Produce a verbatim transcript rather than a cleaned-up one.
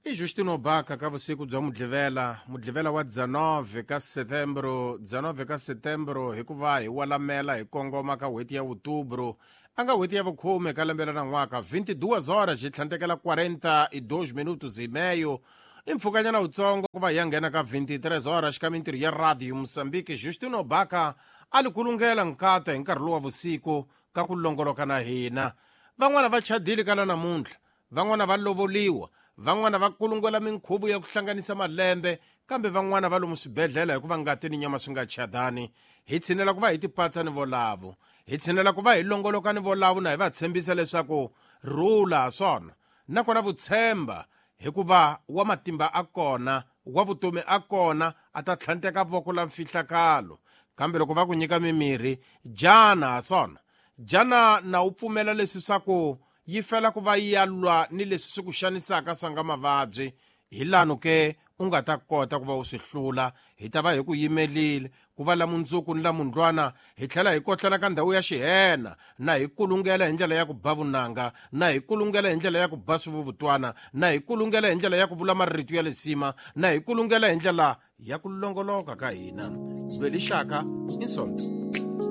I Justino Baka ka vusiku bya Mudlivela, Mudlivela wa dezenove ka Setembro, dezenove ka Setembro hikuva hi walamela hi kongoma ka n'hweti ya Outubro, a nga n'hweti ya vukhume ka lembe ra nan'waka, vinte e duas horas hi tlhandlekela quarenta e dois minutos e meio. I mpfhukanyana wutsongo ku va hi ya nghena ka vinte e três horas ka mintirho ya Radio Moçambique. Justino Baka a li kulungela nkata hi nkarhi lowu wa vusiku ka ku longoloka na hina. Van'wana va chadile ka la namuntlha, van'wana va lovoliwa, van'wana va kulungela minkhuvo ya ku hlanganisa malembe, kambe van'wana va lomu swibedhlele hikuva ngati ni nyama swi nga chadani. Hi tshinela ku va hi tipatsa ni volavo, hi tshinela ku va hi longoloka ni volavo, na hi va tshembisa leswaku rhula swona nakona vutshemba, hikuva wa matimba a kona, wa vutomi a kona, a ta tlhanteka voko la mfihlakalo. Kambe loko va ku nyika mimirhi, jana swona, jana na u pfumela leswi swa ku yi fela ku va yi ya lwa ni leswi swi ku xanisaka swa nga mavabyi, hi lano ke u nga ta kota ku va u swi hlula. Hi ta va hi ku yimelile ku va la mundzuku ni la mundlwana, hi tlhela hi kotlana ka ndhawu ya xihena, na hi kulungela hi ndlela ya ku ba vunanga, na hi kulungela hi ndlela ya ku ba swivuvutwana, na hi kulungela hi ndlela ya ku vula marito ya lisima, na hi kulungela hi ndlela ya ku longoloka ka hina. Lwelixaka i Sonto.